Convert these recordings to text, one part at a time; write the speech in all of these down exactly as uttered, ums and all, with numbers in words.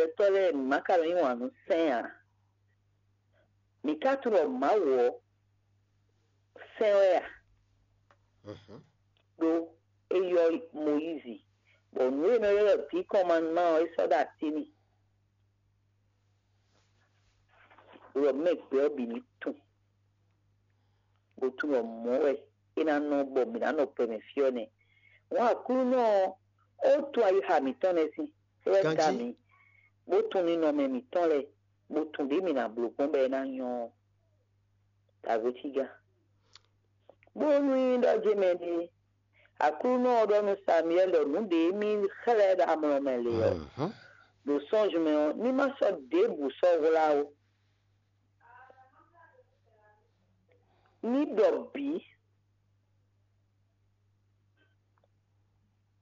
Gbɛtɔ́ lɛ́ɛ, mǐ ma ka nɔ yí wǎn nú sɛ́n ǎ. Mǐ ka tunwun ɖɔ Mawu ɔ́ sɛ́n wɛ a? Ɖó é yɔ́ Mɔyízi, bɔ nǔ e nɔ ylɔ́ ɖɔ vǐ kɔn ma nú má ɔ́, é sɔ́ ɖo así n'i. Ɖɔ mɛ gbɛ ɔ́ bǐ ní tunwun, bó tunwun ɖɔ mɔ̌ wɛ é ná nɔ bɔ mǐ ná nɔ gbɛ mɛ fí ɔ́ nɛ́. Wɔn Aklúnɔ ɔ́, ó tunwun ayixa mǐtɔn nɛ́ sín, é wɛ dá mǐ, bó tunwun ninɔmɛ mǐtɔn lɛ́ɛ, bó tunwun ɖě mǐ ná bló gbɔn bɔ é ná nyɔ́ ɔ́. Dǎgbéjígán. Bónú nyí ɖɔ jé mɛ ɖé, Aklúnɔ ɔ́ ɖɔ nú Samuwɛ́li ɖɔ nǔ ɖě mì xlɛ́ ɖo amlɔ mɛ lě ɔ́, ɖo sɔ́nzun mɛ ɔ́, ní má sɔ́ ɖěbǔ sɔ́ hwlá ó. Ní ɖɔ bǐ.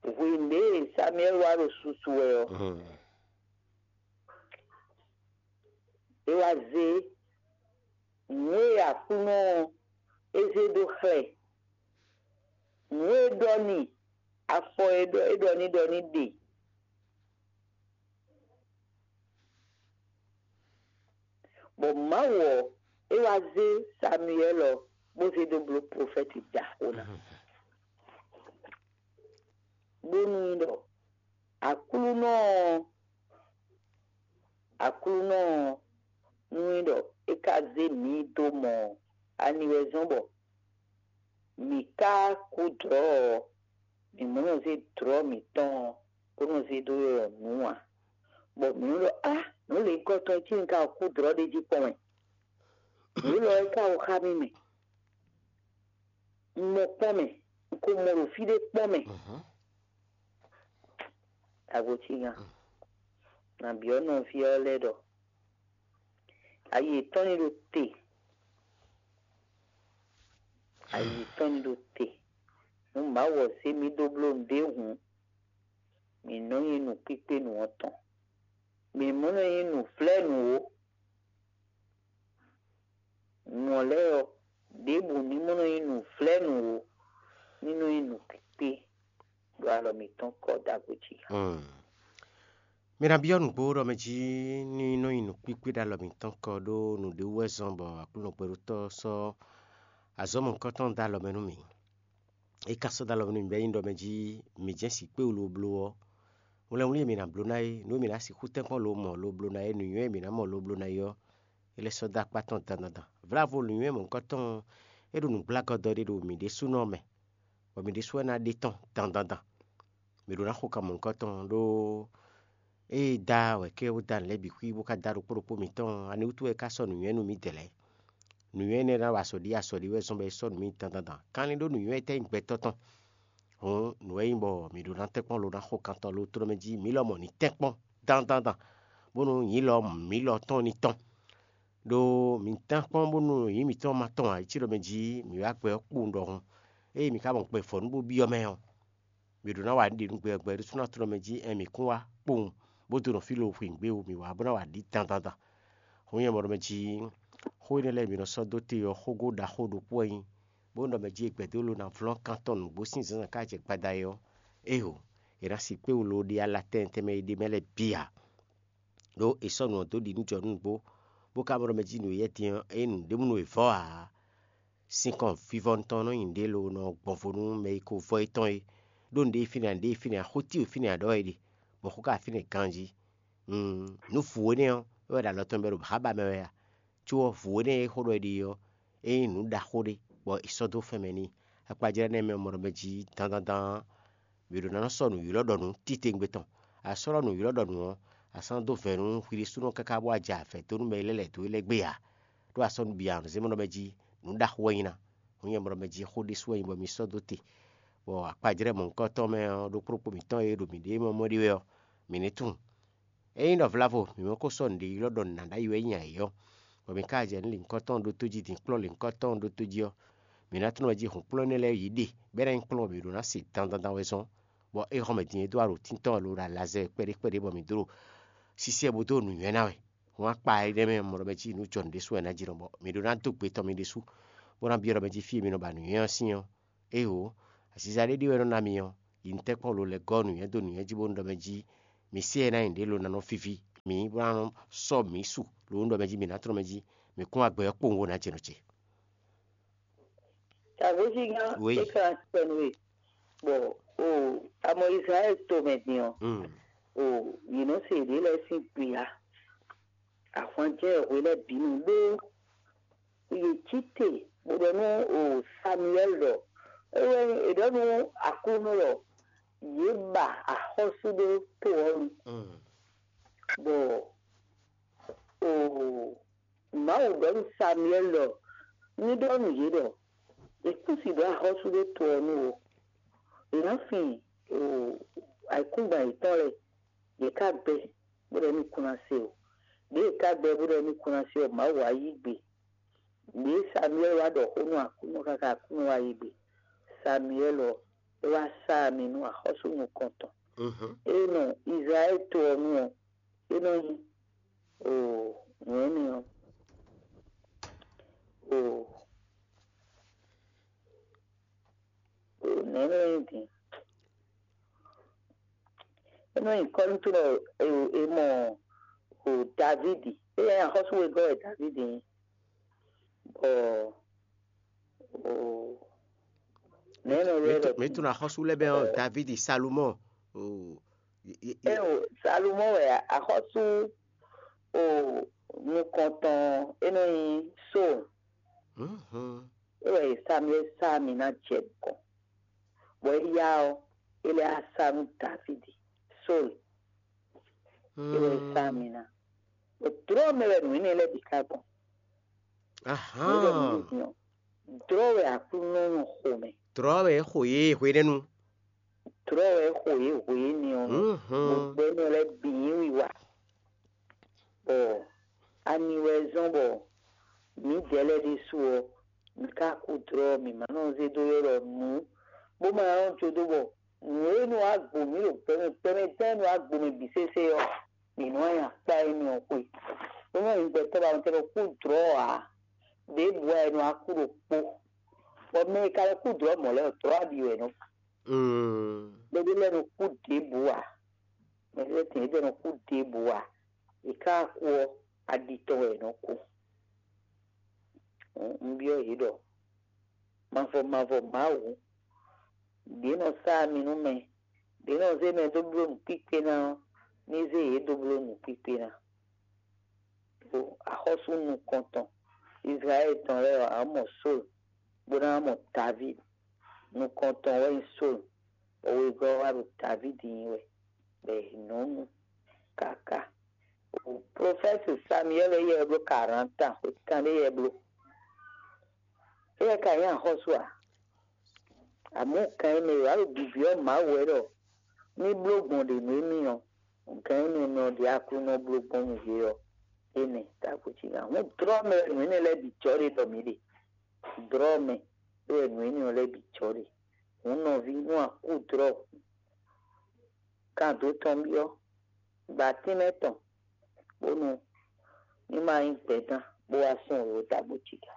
Hwenu ɖě e Samuwɛ́li wá ɖo susu wɛ ɔ́, é wá zé nǔ e Aklúnɔ ɔ́ é zé dó xlɛ́, nǔ e é ɖɔ n'i, afɔ e ɖɔ é ɖɔ n'i ɖɔ ní ɖe. Bɔ Mawu ɔ́, é wá zé Samuwɛ́li ɔ́, bó zé dó bló plofɛ́ti ɖaxó ná, bónú nyí ɖɔ Aklúnɔ ɔ́, Aklúnɔ ɔ́, nú nyí ɖɔ é ka zé mǐ dó mɔ ɔ́, ani wɛ zɔ́n bɔ mǐ ka kú dlɔ̌ ɔ́, mǐ mɔ nɔ zé dlɔ̌ mǐtɔn ɔ́, bó nɔ zé dó ylɔ́ nǔ ǎ. Bɔ mǐ nɔ ɖɔ á, nǔ lěhunkɔtɔn e cí un ka kú dlɔ̌ ɖ'é jí kpɔ́n wɛ. Nǔ élɔ́ é ka wú xá mì mɛ. Un mɔ kpɔ́n mɛ, un ko mɔ ɖo fí ɖé kpɔ́n mɛ. Agotígan, nǎ byɔ́ nɔví ɔ́ lɛ́ɛ ɖɔ ayi yětɔn ní ɖo te, ayi yětɔn ní ɖo te. Nú Mawu ɔ́ zé mì dó bló nǔɖé hǔn, mǐ nɔ nyí nǔkpíkpé nǔ ɔ́ tɔn. Mǐ mɔ nɔ nyí nǔvlɛ́nǔ ó. Nǔ ɔ́ lɛ́ɛ ɔ́, ɖěbǔ ní mɔ nɔ nyí nǔvlɛ́nǔ ó, ní nɔ nyí nǔkpíkpé ɖo alɔ mǐtɔn kɔ ɖagbe jí. Mi ná byɔ́ nǔgbó ɖɔ mɛ jí ní nɔ nyi nǔkpíkpé ɖo alɔ mǐtɔn kɔ ɖó nǔɖé wú wɛ zɔ́n bɔ Aklúnɔ gbɛɖótɔ́ sɔ́ azɔ̌ mɔ̌hunkɔtɔn dó alɔ mɛ nú mì. É ka sɔ́ dó alɔ mɛ nú mì bɔ é nyí ɖɔ mɛ jí mǐ jɛ́n sǐ kpé wú lobló ɔ́, wlɛnwlí e mǐ ná bló ná é, nǔ e mǐ ná sixú tɛ́nkpɔ́n lo mɔ lobló ná é, nǔnywɛ́ e mǐ ná mɔ lobló ná é ɔ́, é lɛ́ sɔ́ dó akpá tɔn dandan dan. Vlávo nǔnywɛ́ mɔ̌hunkɔtɔn ɔ́, é ɖo nǔgblágɔ́dɔ ɖé ɖo mǐ ɖésúnɔ mɛ, bɔ mǐ ɖésú wɛ ná ɖe tɔ́n dandan dan. Mǐ ɖó ná xo kan mɔ̌hunkɔtɔn ɖó ée da wɛ kɛ́ wú da nǔ lɛ́ɛ bǐ xwí bó ka da ɖokpó ɖokpó mǐtɔn, ani wútu wɛ é ka sɔ́ nǔnywɛ́ nú mǐdɛɛ lɛ́ɛ? Nǔnywɛ́ énɛ́ ná wa azɔ̌ ɖi azɔ̌ ɖi wɛ zɔ́n bɔ é sɔ́ nǔ mì dandan dan. Kanlin ɖó nǔnywɛ́ étɛ́ nyí gbɛtɔ́ tɔn? Hǔn nǔ wɛ nyí bɔ mǐ ɖó ná tɛ́nkpɔ́n lo ná xo kan tɔn lo tló mɛ jí mǐ lɔmɔ̌ ní tɛ́nkpɔ́n dandan dan, bónú nyǐ lɔ mǐ lɔ tɔn ní tɔn. Ɖó mǐ tɛ́nkpɔ́n bónú nyǐ mǐtɔn ma tɔn ǎ, é cí ɖɔ mɛ jí mǐ wá gbɛ ɔ́ kpowun ɖɔhun. Ée mǐ ka mɔ gbɛ vɔ̌ nú bó byɔ́ mɛ ɔ́, mǐ ɖó ná wa nǔ ɖě nú gbɛ ɔ́ gbɛ ɖésú ná tló mɛ jí, ɛn mǐ kún wá kpowun, bó dó nɔ fí lo hwǐngbe wú mǐ wá bó ná wa ɖǐ dandan dan. Hǔn nyɛ mɔ ɖɔ mɛ jí xó énɛ́ lɛ́ɛ e mǐ nɔ sɔ́ dó te ɔ́, xógó ɖaxó ɖokpó wɛ nyí, bó nɔ ɖɔ mɛ jí è gbɛ̌ dó lo ná vlɔ́n kan tɔn nǔgbó sín zǎnzǎn ká jɛ gbada é ɔ́, éeǒ, è nǎ sixú kpé wú lo ɖe ala tɛnmɛ tɛnmɛ e ɖ'é mɛ lɛ́ɛ bǐ ǎ. Ɖó è sɔ́ nǔ ɔ́ dó ɖi nú jɔ nú nǔgbó, bó ka mɔ ɖɔ mɛ jí nǔ e yɛ din ɔ́, é nyí nǔɖé mú nú è vɔ́ ǎ. Sinkɔn vivɔnu tɔn nɔ nyi nǔɖé lo nɔ gbɔn vo nú mɛ e ko vɔ́ étɔn é, ɖó nǔɖé e fínɛ́ ǎ, nǔɖé e fínɛ́ ǎ, xó tíwe fínɛ́ ǎ ɖɔ wɛ é ɖe, bɔ xó ka fínɛ́ ganjí. Nǔ vǔ énɛ́ ɔ́, é wɛ ɖo alɔ tɔn mɛ bɔ è ɖo xá ba mɛ wɛ a? Có ɔ́, vǔ énɛ́ e xó ɖɔ è ɖe ɔ́, é nyí nǔ ɖaxó ɖé, bɔ è sɔ́ dó fɛn mɛ n'i. Akpajlɛ́ énɛ́ mɛ mɔ ɖɔ mɛ jí dandandan ɔ́, mǐ ɖó ná nɔ sɔ́ nǔ ylɔ́ ɖɔ nǔ titewungbe tɔn. A sɔ́ ɖɔ nǔ ylɔ́ ɖɔ nǔ ɔ́, a sɔ́ nɔ́ dó vɛ̌ nú hwi ɖésúnɔ káká bó wá jɛ avɛ̌ dó nú mɛ e lɛ́ lɛ̌ dó we lɛ́ɛ gbé ǎ. Ɖó a sɔ́ nǔ bǐ a nɔ zé mɔ ɖɔ mɛ jí nǔ ɖaxó wɛ nyí ná. Hǔn nyɛ mɔ ɖɔ mɛ jí xó ɖésú wɛ nyí bɔ mi sɔ́ dó te, bɔ akpajlɛ́ mɔ̌hunkɔtɔn mɛ ɔ́, ɖokpó ɖokpó mǐtɔn e ɖo mǐɖée mɛ mɔ ɖe wɛ ɔ́, mǐ ní tunwun. Ényí ɖɔ vlavo mǐ mɛ ko sɔ́ nǔɖé ylɔ́ ɖɔ nǔ ná ɖ'ayǐ wɛ nyí ǎ é ɔ́, bɔ mi ka jɛ nǔ lǐnkɔ́tɔn ɖótó jí din kplɔ́n lǐnkɔ́tɔn ɖótó jí ɔ́, mǐ ná tlɔ́n mɛ jí hun kplɔ́n énɛ́ lɛ́ɛ yí ɖe, bɔ é ná nyí kplɔ́n bɔ mǐ ɖó ná se dandandan wɛ zɔ́n, bɔ é hɔn mɛ din e dó aɖǒtín tɔn lobo ɖo alazɛ kpɛɖé kpɛɖé bɔ mǐ dó ɖo sísí ɛ bó dó nǔnywɛ́ ná wɛ. Hǔn akpa énɛ́ mɛ mɔ ɖɔ mɛ jí nǔ jɔ nǔ ɖésú wɛ ná jí nɔ, bɔ mǐ ɖó ná dó gbe tɔn mi ɖésú, bó ná byɔ́ ɖɔ mɛ jí fí e mi nɔ ba nǔnywɛ́ ɔ́ sín ɔ́, Éeǒ, aziza ɖé ɖi wɛ nɔ ná mi ɔ́, yi nǔtɛ́nkpɔ́n lo lɛ́ gɔ́ nǔnywɛ́ dó nǔnywɛ́ jí bó nú ɖɔ mɛ jí mi sé ɛ ná nyi ɖě lo ná nɔ víví. mǐ bó ná nɔ sɔ́ mǐ su ɖo nǔ ɖɔ mɛ jí, mǐ ná tlɔ́n mɛ jí, mǐ kún wá gbɛ ɔ́ kpowun bó ná jɛ nɔ ce. Tavwézígán, oui, é ka tɛnu e bɔ o amɔ Izlayɛ́li tomɛ din ɔ́, mm, o yě nɔ se yěɖée lɛ́ɛ sín gbe ǎ. Ahwanjɛ hwe lɛ́ɛ bǐ nu ɖó yě cí te bó ɖɔ nú o Samuwɛ́li ɖɔ é wɛ è ɖɔ nú Aklúnɔ ɖɔ yě ba axɔ́sú ɖó to ɔ́ nu, mm, bɔ o Mawu ɖɔ nú Samuwɛ́li ɖɔ ní ɖɔ nú yě ɖɔ yě kún si ɖó axɔ́sú ɖó to ɔ́ nu ó. Yě ná fin o ayǐkúngban yětɔn lɛ́ɛ, yě ká gbɛ́ bó ɖɔ émí kún ná se ó. Ɖěe yě ká gbɛ́ bó ɖɔ émí kún ná se ɔ́, Mawu wá yí gbe. Ɖěe Samuwɛ́li wá ɖɔ xó nú Aklúnɔ káká Aklúnɔ wá yí gbe. Samuwɛ́li ɔ́, é wá sá ami nú axɔ́sú nukɔntɔn. Mhm. É nɔ Izlayɛ́li to ɔ́ nu ɔ́, é nɔ nyí o nǔ énɛ́ ɔ́, o o nɛ̌ nɔ nyí din? É nɔ nyí kɔ́lúntúnɔ e e mɔ o Davídi. É nyí axɔ́sú wegɔ́ wɛ Davídi nyí. Bɔ o nɛ̌ nɔ ylɔ́ ɛ ɖɔ mǐ din? Tunwun axɔ́sú lɛ́ɛ bɛ́ ɔ́, Davídi, Salomɔ́ɔ, o, e- e- e- É o Salomɔ́ɔ wɛ axɔ́sú o nukɔntɔn, é nɔ nyí Sóol. Mhm. É wɛ Samuwɛ́li sá ami ná jɛ nukɔn, bɔ éyá ɔ́, é lɛ́ wá sá nú Davídi, Sóol. É wɛ sá ami ná. Bɔ dlɔ̌ mɛ wɛ nǔ énɛ́ lɛ́ɛ bǐ ká gbɔn. Ahán. Nǔ e ɖɔ mǐ ɖo din ɔ́, dlɔ̌ wɛ Aklúnɔ nɔ xo mɛ. Dlɔ̌ wɛ é xo yě hwenɛ́nu. Dlɔ̌ wɛ é xo yě hwenɛ́nu ɔ́, mhm, gbogbo énɛ́ lɛ́ɛ bǐ nyí wiwa. Bɔ ani wɛ zɔ́n bɔ mǐdɛɛ lɛ́ɛ ɖésú ɔ́, mǐ ka kú dlɔ́, mǐ ma nɔ zé dó ylɔ́ ɖɔ nǔ, bó ma nɔ jó dó bɔ nǔ e nɔ wá gbo mǐ ɖo gbɛmɛ gbɛmɛ tɛ́ e nɔ wá gbo mɛ bǐ sésé ɔ́, mǐ nɔ wá nyi akpá énɛ́ ɔ́ xwe. Bó nɔ nyí gbɛtɔ́ ba nɔ tɛ́ ɖɔ kú dlɔ́ ǎ, ɖěbǔ wɛ è nɔ wá kú ɖokpó. Bɔ mɛ e ka nɔ kú dlɔ́ mɔ̌ lɛ́ɛ ɔ́, dlɔ́ aɖi wɛ è nɔ kú. Mm. Mɛɖé lɛ́ɛ nɔ kú ɖěbǔ ǎ. Mɛɖé lɛ́ɛ tɛn yědɛɛ nɔ kú ɖěbǔ ǎ. È ka kú ɔ́, aɖi tɔn wɛ è nɔ kú. Un byɔ́ yě ɖɔ mavɔ mavɔ Mawu, ɖě nɔ sá ami nú mɛ, ɖě nɔ zé mɛ dó bló nǔkpíkpé ná ɔ́, ní zé yě dó bló nǔkpíkpé ná. Ɖo axɔ́sú nukɔntɔn Izlayɛ́li tɔn lɛ́ɛ ɔ́, a nǎ mɔ Sólu, bó ná mɔ Davídi. Nukɔntɔn wɛ nyí Sólu, bɔ wegɔ́ ɔ́ wá ɖo Davídi nyi wɛ, bɔ è nɔ nu káká. Prɔfɛ́ti Samiyɛ́li yɛ bló karanta, xwe kanɖé yɛ bló. Éyɛ́ ka nyí axɔ́sú a? Amɔ̌ kan e mɛ wǎ ɖo bibyɔ́ Mawu wɛ ɖɔ ní bló gbɔn ɖě nú émí ɔ́, nǔkan énɛ́ mɛ ɔ́ ɖě Aklúnɔ bló gbɔn nú yě ɔ́, énɛ́. Távo cí nya hǔn dlɔ́ mɛ wɛ nǔ énɛ́ lɛ́ɛ bǐ jɔ ɖe ɖɔ mǐ ɖe. Dlɔ́ mɛ wɛ nǔ énɛ́ ɔ́ lɛ́ɛ bǐ jɔ ɖe. Hǔn nɔví, nú a kú dlɔ́ hǔn, kan dó tɔn byɔ́, gba tínmɛ tɔn, bónú ní ma nyí gbɛ̌dán bó wá sɔn wěwé tágbó cí gǎ.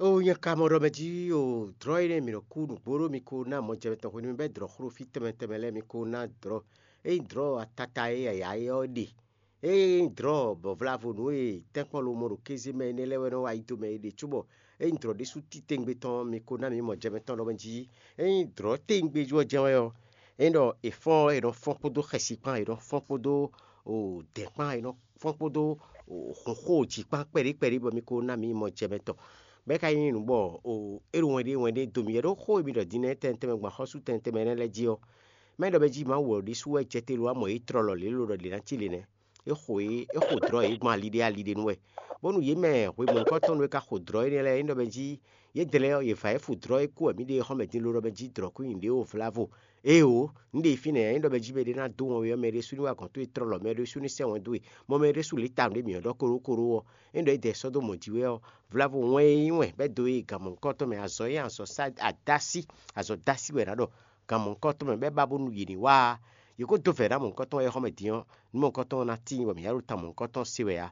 Ó nyɛ ka mɔ ɖɔ mɛ jí o, dlɔ̌ énɛ́ mǐ nɔ kú nǔgbó ɖó mi ko ná mɔjɛmɛ tɔn hwenu mi bɛ́ dlɔ̌ xló fí tɛnmɛ tɛnmɛ lɛ́ɛ mi ko ná dlɔ̌. Ényí dlɔ̌ atata e yǎyá é ɔ́ ɖe, ényí dlɔ̌ bɔ vlavo nǔ e tɛ́nkpɔ́n lomɔ ɖo kéze mɛ énɛ́ lɛ́ɛ wɛ nɔ wá yi do mɛ é ɖe cóbɔ ényí dlɔ̌ ɖésú titewungbe tɔn mi ko ná mi mɔjɛmɛ tɔn ɖɔ mɛ jí, ényí dlɔ̌ tewungbe jú ɔ́ jɛ́n wɛ ɔ́, ényí ɖɔ è fɔ́n ɔ́, è nɔ fɔ́n kpódó xɛsi kpán, è nɔ fɔ́n kpódó o dɛ̌nkpán, è nɔ fɔ́n kpódó o hunxó jǐkpán kpɛɖé kpɛɖé bɔ mi ko ná mi mɔ jɛ mɛ tɔn. Bɔ é ka nyí nǔ bɔ o é ɖo wɛn ɖé wɛn ɖé dó mi wɛ ɖó xó e mi ɖɔ din nɛ́ tɛnmɛ tɛnmɛ gbɔn axɔ́sú tɛnmɛ tɛnmɛ énɛ́ lɛ́ɛ jí ɔ́, má nyí ɖɔ mɛ jí Mawu ɔ́ ɖésú wɛ jɛ te lo wá mɔ yě tlɔlɔ lě lo ɖɔ lě ná cí le nɛ́. É xo yě é xo dlɔ̌ yě gbɔn aliɖé aliɖé nu wɛ, bónú yě mɛ hwemɔ̌hunkɔtɔn nú é ka xo dlɔ̌ énɛ́ lɛ́ɛ é ɖɔ mɛ jí yě dlɛ́ ɔ́, yě va é fu dlɔ̌ é kú wɛ mǐ ɖe xɔ́mɛ din lo ɖɔ mɛ jí dlɔ̌ kú nyi ɖě o vlavo. Éeǒ, un ɖe fínɛ́, é ɖɔ mɛ jí mɛ ɖé ná dó wɔn wɛ ɔ́, mɛ ɖésú ní wa gɔ̌n towe tlɔ́ lɔ, mɛ ɖésú ní sɛ́ wɛn dó we, mɔ mɛ ɖésú lě ta nǔ ɖé mǐ ɔ́ ɖɔ kóɖókóɖó ɔ́, é ɖɔ é dɛ sɔ́ dó mɔ jí wɛ ɔ́, vlavo wɛn e nyí wɛn bɛ́ dó e gan mɔ̌hunkɔtɔn mɛ, azɔ̌ e azɔ̌ sá adásí, azɔ̌ dásí wɛ è nǎ ɖɔ, gan mɔ̌hunkɔtɔn mɛ bɛ́ ba bónú yě ní wá. Yě ko dó vɛ̌ ná mɔ̌hunkɔtɔn wɛ xɔ́mɛ din ɔ́, nú mɔ̌hunkɔtɔn ɔ́ ná tíin bɔ mǐ ná ɖo tan mɔ̌hunkɔtɔn se wɛ ǎ.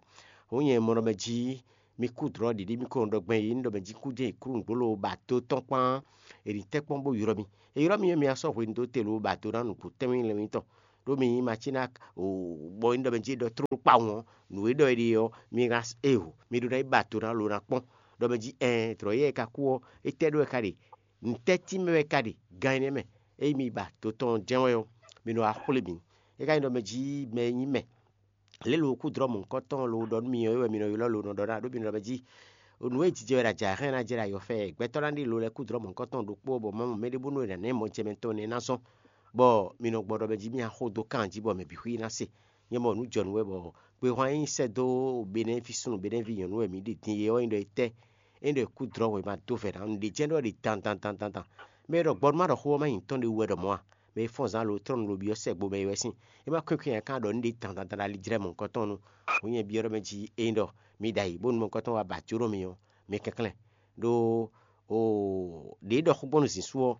Hǔn nyɛ mɔ ɖɔ mɛ jí mi kú dlɔ̌ ɖiɖi, mi ko nɔ ɖɔ gbɛn yě ní ɖɔ mɛ jí kú jɛ́n è klú nǔgbó lobo ba dó tɔn kpán, è nǐ tɛ́ kpɔ́n bó ylɔ́ mi. È ylɔ́ mi ɔ́, mi wá sɔ́ hwenu dó te lobo ba do ná nǔgbó tɛ́nmɛ lɛ́nmɛ tɔn. ɖó mi nyí Matínak, bɔ nyí ɖɔ mɛ jí é ɖɔ tlóló kpawun ɔ́, nǔ e ɖɔ é ɖe ɔ́, mi ná e o, mi ɖó ná yi ba do ná lo ná kpɔ́n. Ɖɔ mɛ jí ɛɛn, tlɔ̌yɛ e ka kú ɔ́, étɛ́ ɖó e ka ɖe? Nǔtɛ́ tínmɛ wɛ e ka ɖe gan énɛ́ mɛ? Ényí mi ba do tɔn jɛ́n wɛ ɔ́, mi nɔ wá xwlé mǐ. É ka nyí ɖɔ mɛ jí mɛ e nyí mɛ lě lo kú dlɔ́ mɔ̌hunkɔtɔn lo ɖɔ nú mi ɔ́, é wɛ mi nɔ ylɔ́ lo nɔ ɖɔ ná ɖó mi nɔ ɖɔ mɛ jí nǔ e jijɛ wɛ ɖo ajǎ hɛn ná jɛ ɖo ayɔfɛ gbɛtɔ́ ná ɖe lo lɛ́ɛ kú dlɔ́ mɔ̌hunkɔtɔn ɖokpó bɔ Mawu mɛ ɖé bónú è nǎ ná ɛ mɔ jɛ mɛ tɔn nɛ́ ná zɔ́n, bɔ mi nɔ gbɔ ɖɔ mɛ jí mì axó dó kan jí bɔ mɛ bǐ xwí ná se. Nyɛ mɔ nǔ jɔ nǔ wɛ bɔ kpehwan e nyí sɛ́ dó Benɛ́ví súnnu Benɛ́ví nyɔ̌nu wɛ mǐ ɖe din é ɔ́ nyí ɖɔ étɛ́? É nyí ɖɔ è kú dlɔ́ wěma dó vɛ̌ ná. Nǔɖé jɛ́n ɖɔ è ɖe dan dan dan dan dan. Mɛ e ɖɔ gbɔ nú má ɖɔ xó ɔ́ má nyí tɔn ɖé wú wɛ ɖɔ mɔ̌ a? Mɛ e fɔ́n zán lo tlɔ́ nú lo byɔ́ sɛgbo mɛ é wɛ sín. É má kwɛ́nkwɛ́n nya kan ɖɔ un ɖe dan dan dan ɖo ali jlɛ́ mɔ̌hunkɔtɔn nu. Hǔn nyɛ byɔ́ ɖɔ mɛ jí ényí ɖɔ mi ɖo ayǐ bónú mɔ̌hunkɔtɔn wá ba jó nú mi ɔ́, mi kɛnklɛ́n. Ɖó oo, ɖě ɖɔ xó gbɔn nú zǐn sú ɔ́,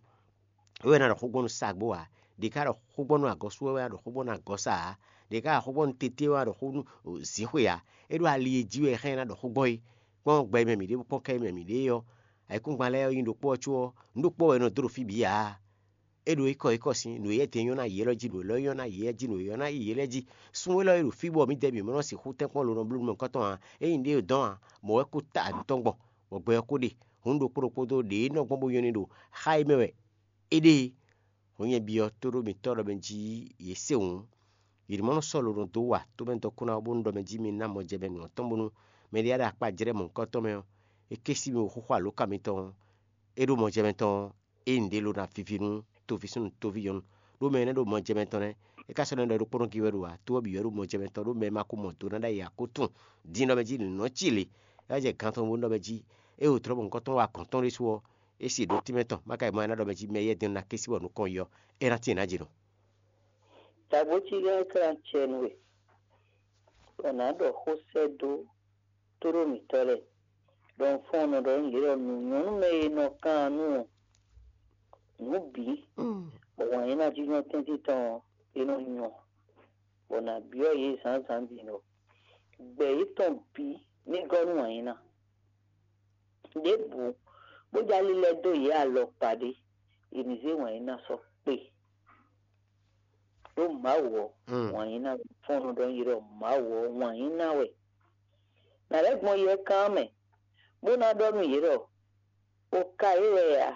é wɛ ná ɖɔ xó gbɔn nú sagbó ǎ. Ɖě ka ɖɔ xó gbɔn nú agɔ sú ɔ́, é wɛ ná ɖɔ xó gbɔn nú agɔ sa ǎ. Ɖě ka ɖɔ xó gbɔn nú tété ɔ́, é wɛ ná ɖɔ xó nú zǐxwe ǎ. É ɖo ali e jí wɛ é hɛn ná ɖɔ xó gbɔn é. Kpɔ́n gbɛ e mɛ mǐ ɖe kpɔ́n kɛ e mɛ mǐ ɖe é ɔ́, ayǐkúngban lɛ́ɛ ɔ́ nyí ɖokpó ɔ́ có ɔ́, nǔ ɖokpó wɛ è nɔ dó ɖo fí bǐ ǎ. É ɖo ékɔ ékɔ sín nǔ e yɛ́ din nyɔ́ ná yě élɔ́ jí, nǔ élɔ́ nyɔ́ ná yě jí, nǔ e nyɔ́ ná yě lɛ́ɛ jí. Sun élɔ́ e ɖo fí bɔ mǐdɛɛ bǐ mɔ nɔ sixú tɛ́nkpɔ́n lo nɔ bló nukɔntɔn ǎ. Ényí ɖě e dɔn ǎ, mɔ̌ wɛ kó ta nǔ tɔn gbɔn, bɔ gbɛ ɔ́ kó ɖe. Hǔn ɖokpó ɖokpó dó ɖě nɔ gbɔn bó nyɔ́ ní ɖo xá e mɛ wɛ é ɖe é. Hǔn nyɛ byɔ́ tóɖó mǐtɔn ɖɔ mɛ jí yě se hǔn, yě ní mɔ nɔ sɔ́ lo nɔ dó wa tómɛ dɔkun ná bónú ɖɔ mɛ jí mi ná mɔ jɛ mɛ nǔ ɔ́ tɔn bónú mɛ ɖé ɖo akpá jlɛ́ mɔ̌hunkɔtɔn mɛ ɔ́, é ké sí mi xóxó alǒka mitɔn ɔ́, é ɖó mɔ jɛ mɛ tɔn ɔ́, é nyí nǔɖé lo ná viví nú toví súnnu toví nyɔ̌nu. Ɖó mɛ énɛ́ ɖo mɔ jɛ mɛ tɔn nɛ́, é ka sɔ́ nɔ ɖɔ ɖokpónɔ gí wɛ ɖo ǎ, tó ɔ́ bǐ wɛ ɖo mɔ jɛ mɛ tɔn ɖó mɛ ma ko mɔ do ná ɖ'ayǐ ǎ kó tunwun din ɖɔ mɛ jí nǔ nɔ cí lě. É wá jɛ gan tɔn bónú ɖɔ mɛ jí é wǒ tlɔ́ mɔ̌hunkɔtɔn wa gɔ̌n tɔn ɖésú ɔ́, é se ɖǒ tínmɛ tɔn, má ka yi mɔ ɛ ná ɖɔ mɛ jí mɛ yɛ́ din ná ké sí bɔ nukɔn yi ɔ́, é ná tíin nǎ jǐ nɔ. Tagbócí lɛ́ɛ klán acɛ nú we, bɔ nǎ ɖɔ xó sɛ́ dó tóɖó mǐtɔn lɛ́ɛ, ɖɔ un fɔ́n un nɔ ɖɔ nú yě ɖɔ nǔ nyɔ́ nú mɛ e nɔ kan nú ɔ́, nǔ bǐ, bɔ wǎn yí ná jínjɔ́n tɛ́ntin tɔn ɔ́, é nɔ nyɔ, bɔ nǎ byɔ́ yě zǎnzǎn din ɖɔ gbɛ yětɔn bǐ ní gɔ́ nú wǎn yí ná. Ɖěbǔ bó jló ali lɛ́ dó yě alɔkpa ɖé, è nǐ zé wǎn yí ná sɔ́ kpe. Ɖó Mawu ɔ́, wǎn yí ná wɛ. Fɔ́n nɔ ɖɔ nú yě ɖɔ Mawu ɔ́, wǎn yí ná wɛ. Nǎ lɛ́ gbɔn yɛkán mɛ, bó ná ɖɔ nú yě ɖɔ: O ka yě wɛ a?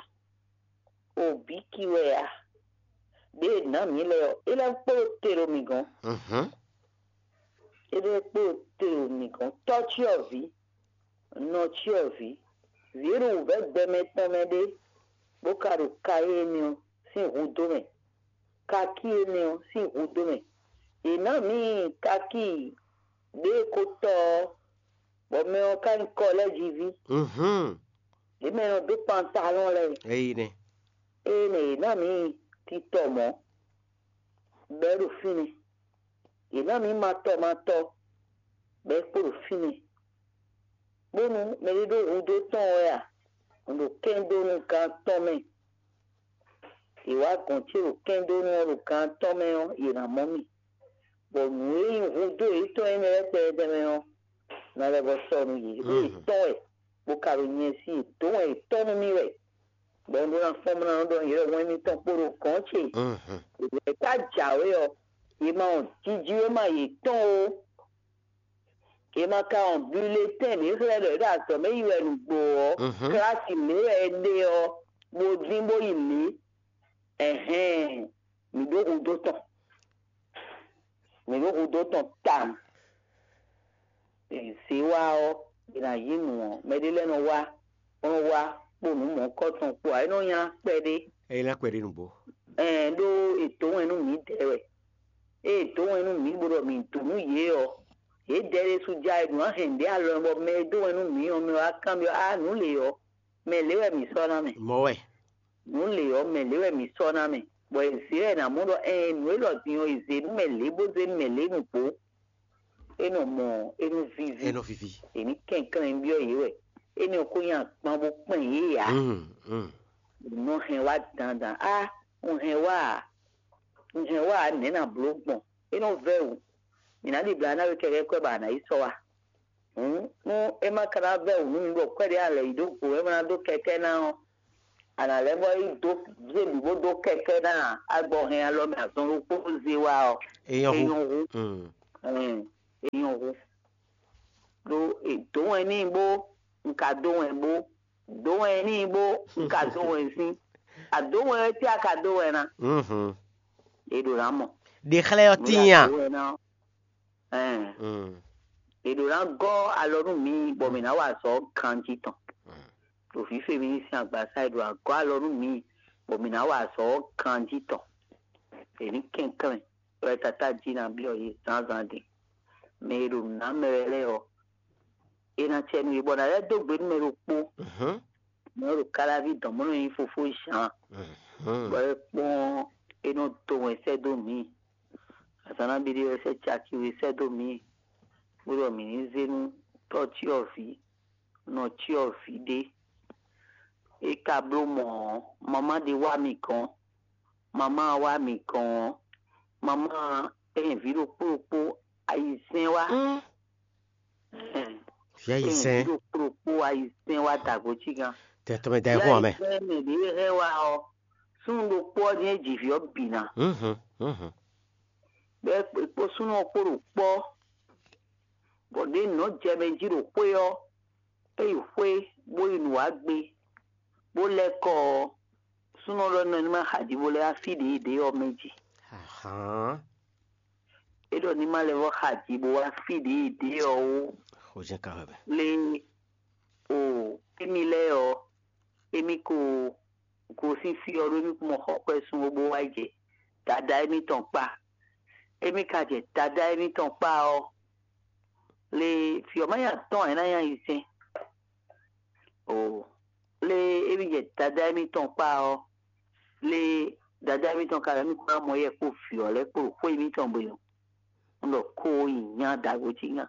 O bǐ ki wɛ a? Ɖěe è nǎ mǐ lɛ́ɛ ɔ́, é lɛ́ kpo te ɖo mǐ gɔ́n. É lɛ́ kpo te ɖo mǐ gɔ́n. Tɔ́cyɔvǐ, nɔcyɔvǐ, vǐ e ɖo wǔvɛ́ gbɛmɛ tɔn mɛ ɖé, bó ka ɖo kayé énɛ́ ɔ́ sín hudó mɛ, kakí énɛ́ ɔ́ sín hudó mɛ. È nǎ mǐ kakí ɖěe ko tɔ ɔ́, bɔ mɛ ɔ́ ka nyí kɔlɛ́jiví. Yě mɛ e nɔ dó pantalɔ́n lɛ́ɛ, Eyi nɛ. Ée nɛ yě ná mǐ titɔ mɔ̌, bɔ é ɖo fínɛ́. Yě ná mǐ matɔ matɔ, bɔ é kpo ɖo fínɛ́. Bónú mɛɖé ɖó hudó tɔn wɛ a, un ɖo kɛ́n dó nú gán tɔn mɛ. Yě wá gɔ̌n ce ɖo kɛ́n dó nú ɔ́ ɖo gán tɔn mɛ ɔ́, yě ná mɔ mì. Bɔ nǔ e nyí hudó yětɔn énɛ́ lɛ́ɛ kpɛɖɛɖɛ mɛ ɔ́, ná lɛ́ vɔ sɔ́ nú yě. Ɖó yě tɔn wɛ, bó ka ɖo nyɛ sí yě dó wɛn yětɔn nú mì wɛ. Bɔ un ɖó ná fɔ́n bó ná nɔ ɖɔ yě ɖɔ wɛn mitɔn kpo ɖo gɔ̌n ce. Yě ka jǎwe ɔ́, yě ma wɔn jijǐwéma yětɔn ó. Yě ma ka wɔn bulletɛn ɖě xlɛ́ ɖɔ yě ɖo azɔ̌ mɛ yi wɛ nǔgbó ɔ́, klasi lě wɛ è ɖe ɔ́, bó dín bó yi lě. Ɛhɛn, mǐ ɖó hudó tɔn. Mǐ ɖó hudó tɔn tawun. Zě wá ɔ́, è nǎ yí nǔ ɔ́, mɛɖé lɛ́ɛ nɔ wá, bó nɔ wá kpo nǔ mɔ̌hunkɔtɔn kpo ǎ, é nɔ nylá kpɛɖé. É nylá kpɛɖé nǔgbó. Ɛn ɖó è dǒ wɛn nú mǐdɛɛ wɛ. Ée è dǒ wɛn nú mǐ bó ɖɔ mǐ dǒ nú yě ɔ́, yědɛɛ ɖésú já e ɖo ná hɛn nǔɖé alɔ bɔ mɛ e dó wɛn nú mǐ ɔ́, mɛ wá kanbyɔ́ á nǔ lě ɔ́, mɛ lě wɛ mǐ sɔ́ ná mɛ. Mɔ̌ wɛ. Nǔ lě ɔ́, mɛ lě wɛ mǐ sɔ́ ná mɛ, bɔ è zě wɛ è nǎ mɔ ɖɔ ɛɛn nǔ élɔ́ din ɔ́, è zě nú mɛ lě bó zé nú mɛ lě nǔgbó. É nɔ mɔ é nú víví. É nɔ víví. È ní kɛnklɛ́n byɔ́ yě wɛ. Énɛ́ ɔ́ ko nyi agban bó kpɛn yě ǎ. Nɔ hɛn wá dandan á, un hɛn wá ǎ. Un hɛn wá ǎ, nɛ̌ ná bló gbɔn? É nɔ vɛ́ wǔ. Mǐ ná ɖibla ná we kɛkɛ́ kwɛ́ bɔ a nǎ yi sɔ́ wá. Hǔn nú é ma ka ná vɛ́ wǔ nú mi bɔ kwɛ́ɖɛ́ alɛ yi ɖó go é ma ná dó kɛkɛ́ ná ɔ́, A nǎ lɛ́ vɔ yi dó zé bǐ bó dó kɛkɛ́ ná agbɔhɛn alɔ mɛ azɔn ɖokpó zé wá ɔ́, Èèyàn é hu. nyɔ́ hú. Mm. Ɛn, é nyɔ́ hú. Ɖó è dǒ wɛn n'i bó un ka dó wɛn bó dǒ wɛn n'i bó un ka dó wɛn sín. A dǒ wɛn wɛ tí a ka dó wɛn ná. Mhm. È ɖǒ ná mɔ. Ɖe xlɛ́ ɔ́ tíin a? Dǒ wɛn ná. Ɛn, Mm. è ɖǒ ná gɔ́ alɔ nú mǐ bɔ mǐ ná wa azɔ̌ ganjí tɔn. Ɖo fífé mi sín agbasa è ɖo agɔ́ alɔ nú mǐ bɔ mǐ ná wa azɔ̌ ganjí tɔn. È ní kɛnklɛ́n wɛ tata jí ná byɔ́ yě zǎnzǎn din. Mɛ e ɖo nǔ ná mɛ wɛ lɛ́ɛ ɔ́, è nǎ cɛ nú yě bɔ nǎ lɛ́ dó gbe nú mɛ ɖokpó. Mhm. Mɛ ɖo káláví dɔn mɔ̌ nɔ nyí fofó Zǎn. Mhm. Bɔ é kpɔ́n é nɔ dó wɛn sɛ́ dó mǐ. Azǎn ná bí ɖé wɛ sɛ́ caki we sɛ́ dó mǐ. Bó ɖɔ mǐ ní zé nú tɔ́ cyɔ́vǐ, nɔ cyɔ́vǐ ɖé. É ka bló mɔ̌ ɔ́, mamá ɖé wá mì gɔ́n. Mamá wá mì gɔ́n ɔ́, mamá ɛn vǐ ɖokpó ɖokpó ayizɛ́n wá. Mm. Ɛn, Vǐ ayizɛ́n. Ɖokpó ɖokpó ayizɛ́n wá dagbo cí gán. Tɛ tɔmɛ da ɛ hún amɛ. Ayizɛ́n mɛ ɖě hɛn wá ɔ́, súnnu ɖokpó ɔ́ jɛ́n ji vǐ ɔ́ bǐ ná. Mhm. Mhm. Bɔ é kpó súnnu ɔ́ kpó ɖo kpɔ́, bɔ ɖě nǔ nɔ jɛ mɛ jí ɖo xwé ɔ́, é yi xwé bó yi nǔ wá gbé, bó lɛ́ kɔ ɔ́, súnnu ɔ́ ɖɔ nɔ ní má xa jí bó lɛ́ wá fí ɖě ɖě ɔ́ mɛ jí. Ahán. É ɖɔ ní má lɛ́ vɔ́ xa jí bó wá fí ɖě ɖě ɔ́ ó. Xó jɛ́n ka wɛ bɛ. Lé o émi lɛ́ɛ ɔ́, émi ko gosín fí ɔ́ ɖó émi kún mɔ xɔ xwɛ sun ó bó wá jɛ dada émítɔn kpá. Émi ka jɛ dada émítɔn kpá ɔ́, lé fí ɔ́ má nya tɔn ɛ ná nya yi sɛn. O lé émi jɛ dada émítɔn kpá ɔ́, lé dada émítɔn ka lɛ́ mì kún ná mɔ yɛ kpó vǐ ɔ́ lɛ́ɛ kpó ɖo xwé émítɔn gbe ɔ́. Un ɖɔ ko yi nya dagbo cí nya.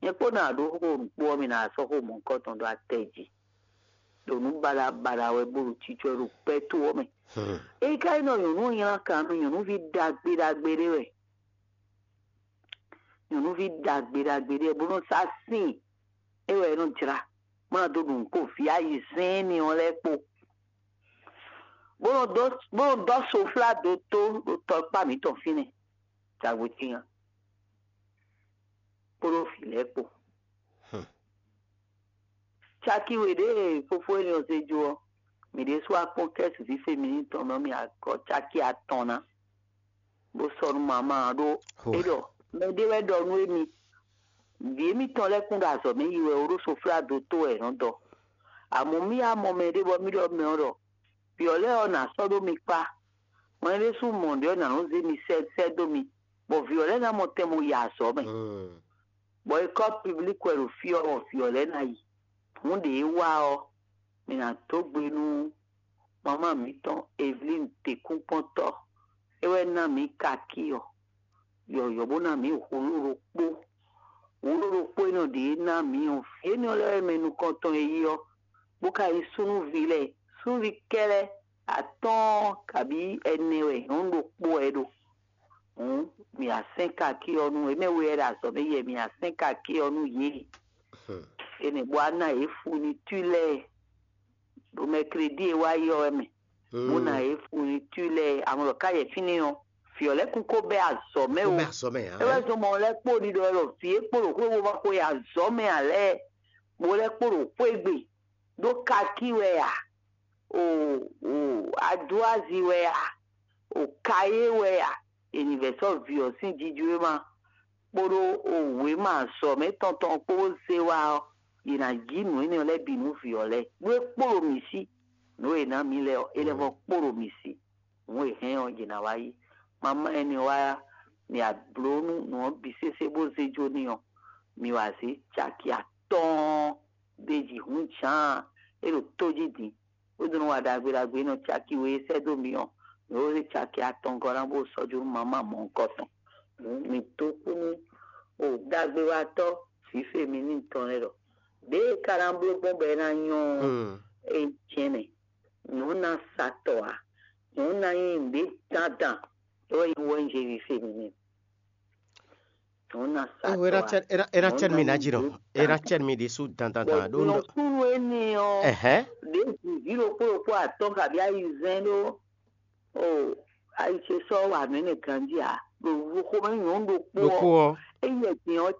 Nyɛ kpó ná ɖó xó nǔkpó ɔ́ mi ná sɔ́ xó mɔ̌hunkɔtɔn ɖó atɛ jí. Ɖo nǔ baɖa baɖa wɛ bó ɖo cícɔ ɖo pɛ́ tó ɔ́ mɛ. Hmm. Ényí ka nyí ɖɔ nyɔ̌nu ɔ́ nylá kan nú nyɔ̌nuví ɖagbe ɖagbe ɖé wɛ. Nyɔ̌nuví ɖagbe ɖagbe ɖé wɛ bó nɔ́ sá sín é wɛ é nɔ́ jlá. Má ná dó ɖu nǔ kpó vǐ ayizɛ́n énɛ́ ɔ́ lɛ́ɛ kpó. Bó nɔ dɔ́ bó nɔ dɔ́ soflá dó tó ɖo tɔkpá mǐtɔn fínɛ́. Dagbo cí nya. Kpódó vǐ lɛ́ɛ kpó. Hmm. Caki we ɖě e fofó énɛ́ ɔ́ zé jó ɔ́, mǐ ɖésú wá kpɔ́n kɛ́su fífé mi ní tɔn nɔ mì agɔ̌ caki atɔn ná, bó sɔ́ nú mamá ɔ́ ɖó Ho. É ɖɔ mɛ ɖé wɛ ɖɔ nú émi. Vǐ émítɔn lɛ́ɛ kún ɖo azɔ̌ mɛ yi wɛ ó ɖó soflá dó tó wɛ è nɔ dɔ. Amɔ̌ mì wá mɔ mɛ ɖé bɔ mì ɖɔ mɛ ɔ́ ɖɔ vǐ ɔ́ lɛ́ɛ ɔ́ nǎ sɔ́ ɖó mi kpá. Mɛ ɖésú mɔ ɖě ɔ́ nǎ nɔ zé mi sɛ́ sɛ́ dó mi, bɔ vǐ ɔ́ lɛ́ɛ ná mɔ tɛn bó yi azɔ̌ mɛ. Hmm. Bɔ ékɔ́ piblik wɛ ɖo fí ɔ́, bɔ vǐ ɔ́ lɛ́ɛ ná yi. Hǔn ɖě é wá ɔ́, mi ná dó gbe nú mamá mǐtɔn Evelín Tekúnkpɔ́ntɔ́. É wɛ ná mǐ kakí ɔ́, yɔ̌yɔ́ bó ná mǐ hǔlú ɖokpó. Hǔlú ɖokpó énɛ́ ɖě ná mǐ ɔ́, vǐ énɛ́ lɛ́ɛ wɛ mɛ nukɔntɔn e yí ɔ́, bó ka nyí súnnuví lɛ́ɛ, súnnuví kɛ́ɖɛ́ atɔ́ɔ́n kabǐ ɛnɛ wɛ nyɔ̌nu ɖokpó wɛ é ɖo. Hǔn mǐ wá sɛ́n kakí ɔ́ nú é mɛ we wɛ ɖo azɔ̌ mɛ yɛ mǐ wá sɛ́n kakí ɔ́ nú yě. Hmm. Énɛ́ bó wá ná yě funitú lɛ́ɛ ɖo mɛkledí e wá yi ɔ́ wɛ mɛ. Bó ná yě funitú lɛ́ɛ amlɔ ká yɛ fínɛ́ ɔ́, vǐ ɔ́ lɛ́ɛ kún kó bɛ́ azɔ̌ mɛ Kó o. bɛ azɔ̌ mɛ ǎ. É wɛ zɔn mɔ lɛ́ kpo ɖiɖɔ lɔ vǐ e kpo ɖo xwé bó ma xwe azɔ̌ mɛ ǎ lɛ́ɛ, bó lɛ́ kpo ɖo xwé gbe ɖó kakí wɛ ǎ. O o adúazi wɛ ǎ. O kayé wɛ ǎ. È nǐ vɛ̌ sɔ́ vǐ ɔ́ sín jijwéma kpódó o wěma azɔ̌ mɛ tɔn tɔn kpó bó zé wá ɔ́, yě ná jí nǔ énɛ́ lɛ́ɛ bǐ nú vǐ ɔ́ lɛ́ɛ. Nú é kpo ɖo mǐ sí, nǔ e è nǎ mǐ lɛ́ɛ ɔ́, é lɛ́ vɔ kpo ɖo mǐ sí. Nǔ e hɛn ɔ́, yě ná wá yí. Mamá ɛnɛ wá ya, mǐ wá bló nú nǔ ɔ́ bǐ sésé bó zé jó n'i ɔ́, mǐ wá zé caki atɔ́ɔ́n ɖ'é jí hǔn jǎan é ɖo tó jí din, bó dó nɔ wa ɖagbe ɖagbe nɔ caki we e sɛ́ dó mǐ ɔ́, mǐ wó zé caki atɔngɔ́ ná bó sɔ́ jó nú mamá mɔ̌hunkɔtɔn. Hǔn mǐ dó kú nú o ɖagbewatɔ́ fǐfé mi ní tɔn lɛ́ɛ ɖɔ, ɖěe é ka ná bló gbɔn bɔ é ná nyɔ́ ɔ́, Hmm. é jɛ́n mɛ. Nyɔ̌nu ná sa tɔ ǎ. Nyɔ̌nu ná nyí nǔɖé dandan. É wɛ nyí wɛnjɛ fífé mi n'i. Nyɔ̌nu ná sa Ewe tɔ era ǎ. cɛn era era cɛn mi na dzi nɔ. Era cɛn mi ɖi su dan dan dan ɖo nɔ. Nɔkunu énɛ́ ɔ́, Ɛhɛn. ɖe Ɖěbǔ vǐ ɖokpó ɖokpó atɔ́ɔ́n kabi ayizɛ́n ɖó o ayi ce sɔ́ wǎ mɛ nɛ ganjí ǎ. Ɖo xomɛ nyɔ̌nu ɖokpó Ɖokpó ɔ́, ɔ́, ényí ɛgbɛn ɔ́